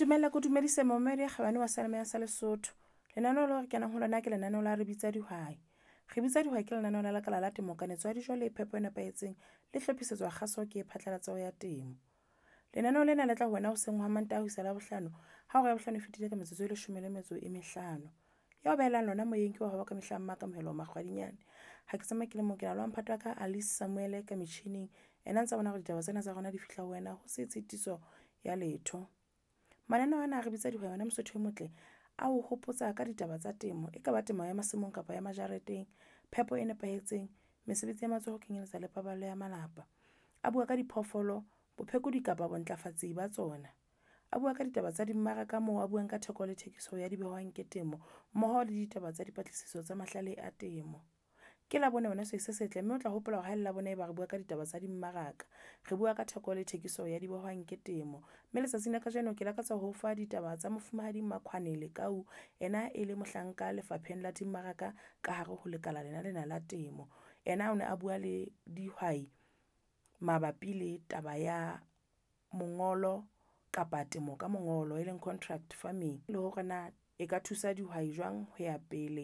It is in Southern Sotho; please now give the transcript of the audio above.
Ntumelle ke o dumedise momamedi ya kgabane wa seyalemoya sa Lesotho. Lenaneo leo re kenang ho lona ke lenaneo la re bitsa dihwai. Re bitsa dihwai ke lenaneo la lekala la temo, kanetso ya dijo le phepo e nepahetseng le hlophisetswa kgaso ke phatlalatso ya temo. Lenaneo lena le tla ho wena hoseng ha Mantaha ho isa Labohlano ha hora ya bohlano e fetile ka metsotso e leshome le metso e mehlano. Ya o behelang lona moyeng ke wa hao wa ka mehla Mmakamohelo Makgwadinyane. Ha ke tsamaye ke le mong, ke na le wa mphato wa ka Alice Samuel ka metjhining. Ena ntsa bona hore ditaba tsena tsa rona di fihla ho wena ho se tshitiso ya letho. Mananeo ana a re bitsa dihwai wena Mosotho e motle, a o hopotsa ka ditaba tsa temo. E kaba temo ya masimong kapa ya majareteng, phepo e nepahetseng, mesebetsi ya matsoho ho kenyeletsa le paballo ya malapa. A bua ka diphoofolo, bophekodi kapa bontlafatsi ba tsona. A bua ka ditaba tsa dimmaraka moo a buang ka theko le thekiso ya dibehwang ke temo mmoho le ditaba tsa dipatlisiso tsa mahlale a temo. Ke Labone wena sehwai se setle, mme o tla hopola hore ha ele Labone eba re bua ka ditaba tsa dimmaraka. Re bua ka theko le thekiso ya dibehwang ke temo. Mme letsatsing la kajeno ke lakatsa ho fa ditaba tsa Mofumahadi Makhoane Lekau, ena e le mohlanka lefapheng la dimmaraka ka hare ho lekala lena lena la temo. Ena o ne a bua le dihwai mabapi le taba ya mongolo kapa temo ka mongolo, e leng contract farming. Le hore na e ka thusa dihwai jwang ho ya pele.